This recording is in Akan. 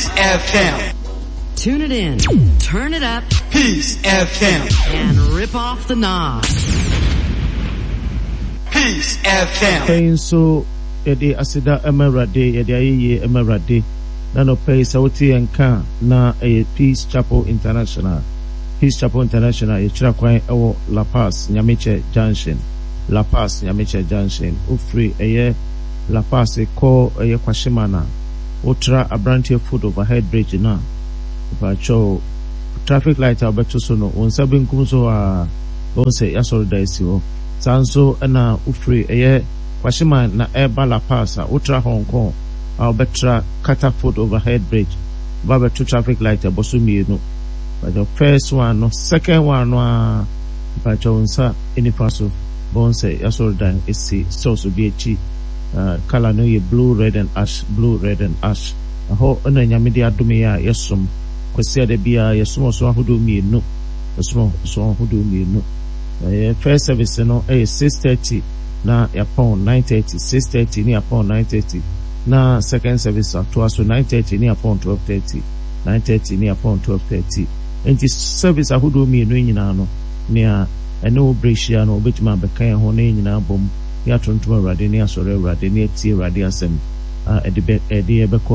Peace FM. Tune it in, turn it up, Peace FM. and rip off the knob. Peace FM. Afei nso yɛde aseda ma Awurade, yɛde ayɛyie ma Awurade. Na nɔpɛ yi sɛ wote yɛn nka a, na ɛyɛ Peace Chapel International. Peace Chapel International, yɛkyerɛ kwan wɔ La Paz Nyamekyɛ Junction. La Paz Nyamekyɛ Junction. Wofiri ɛyɛ La Paz kɔ ɛyɛ Kwashieman a, wotra Abranteɛ Foot Overhead Bridge no a, mepakyɛw, traffic light a wobɛto so no, wo nsa benkum so hɔ ara, wobɛhu sɛ y'asɔredan si hɔ. Saa nso na wofiri ɛyɛ Kwashieman na ɛreba La Paz a, wotra Hong Kong a, wobɛtra Carter Foot Overhead Bridge, woba abɛto traffic light a ɛbɔ so mmienu. Mepakyɛw, first one no, second one no ara, mepakyɛw, wo nsa nifa so, wobɛhu sɛ y'asɔredan si stores bi akyi. Colour no yɛ blue, red and ash, blue, red and ash. Ɛhɔ na Nyame de adome yɛn a yɛsom. Kwasiada biara yɛsom ɔsom ahodoɔ mmienu. Yɛsom ɔsom ahodoɔ mmienu. Yɛn first service no yɛ 6:30 na yɛapɔn 9:30, 6:30 ne yɛapɔn 9:30. Na second service atoa so 9:30 ne yɛapɔn 12:30, 9:30 ne yɛapɔn 12:30. Enti service ahodoɔ mmienu yi nyinaa no, nea ɛne wo berɛ hyia no, wobɛtumi abɛka yɛn ho na yɛn nyinaa abom. ne atontom Awurade, ne asɔre Awurade, ne atie Awurade asɛm a ɛde bɛ ɛde yɛ bɛkɔ.